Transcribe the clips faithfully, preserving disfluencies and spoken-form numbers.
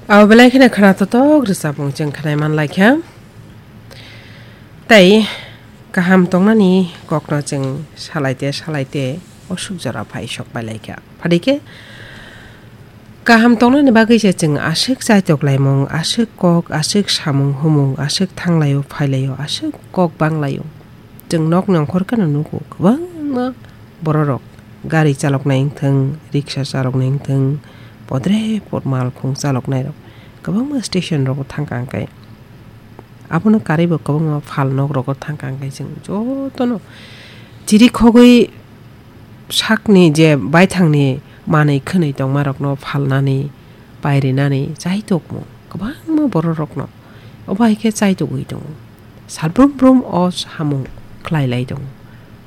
Abo belai kheno khna totok rwchapmung chwng khnai man lai kha. Tei kaham tongnani kokno chwng salai te salai te osuk jora phai sok pai lai kha. Phadi khe kaham tongnani bagwi se chwng aswk chaitok laimung, aswk kok, aswk samung humung, aswk thang laio phai laio, aswk kok bang laio. Chwng nokni ongkhor kheno nugo kwbangma bororok gari chaloknai wngthwng, riksa chaloknai wngthwng, podre pod malkhung chaloknairok kwbangma station rogo thangkha hwnkhe. Abono karwibo kwbangma phal nok rogo thangkha hwnkhe chwng jotono chiri khogwi sakni je baithangni manwi khwnwi tongmarokno phalnani, pairinani chaitokmung kwbangma bororokno obo hai khe chaitogwi tongo. Salbrum brum o samung khlai lai tongo.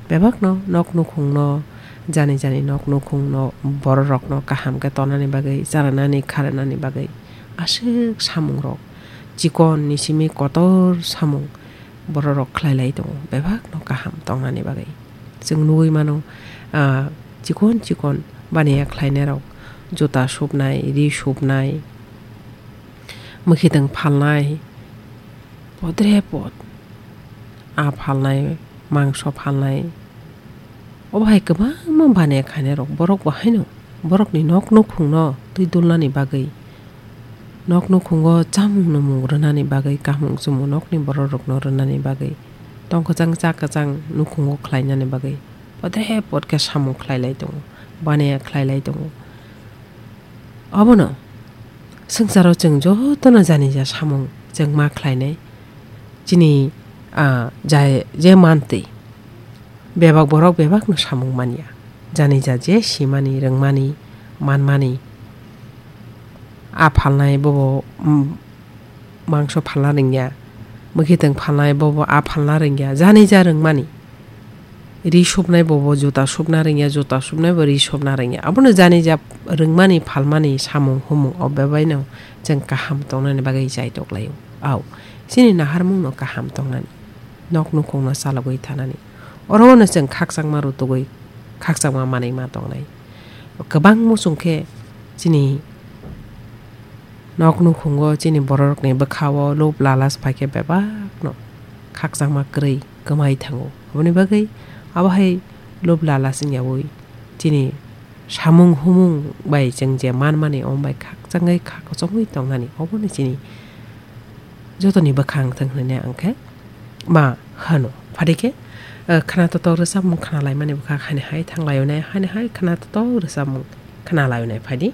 Bebakno nok nukhungno, jani jani nok nukhungno, bororokno kaham khe tonani bagwi, chanani kharanani bagwi aswk samungrok, chikon ni simi kotor samung bororok khlai lai tongo, bebakno kaham tongnani bagwi. Chwng nugwi mano, ah, chikon chikon baniya khlainairok, juta supnai, ri supnai, mwkhitwng phalnai, podre pod, a phalnai, mangso phalnai, obo hai kwbangma baniya khainairok borok bo haino borokni nok nukhungno twi dulnani bagwi, nok nukhungo chamung numung rwnani bagwi, kahmung chumung nokni bororokno rwnani bagwi, tong kwchang cha kwchang nukhungo khlainani bagwi podre pod khe samung khlai lai tongo, baniya khlai lai tongo. Obono swngcharo chwng jotono janija samung chwng ma khlainai. Chini, ah, jai-, je mantwi bebak borok bebakno samung manya. Janija je simani, rwngmani, manmani. A phalnai bobo, mm, mangso phalna rwngya, mwkhitwng phalnai bobo a phalna rwngya, janija rwngmani. Ri supnai bobo juta supna rwngya, juta supnai bo ri supna rwngya. Abono janija rwngmani phalmani samung humung o bebaino chwng kaham tongnani bagwi chaitok laio. Au, chini naharmungno kaham tongnani, nok nukhungno chalogwi thanani. Orono chwng khakchangma rutugwi, khakchangma manwi ma tongnai. Kwbang muchung khe chini nok nukhungo chini bororokni bwkhao lob lalas phaikhe bebakno khakchangma kwrwi kwmai thango. Aboni bagwi abo hai lob lalas wngyaui chini samung humung bai chwng je manmani, omo bai khakchangwi kha kochongwi tongnani, obono chini jotoni bwkhang thwng hwnwi ang khe ma hano. Phadi khe, eh, khna totok rwchapmung khna laimani bwkha hani hai thang laio nai, hani hai khna totok rwchapmung khna laio nai phadi.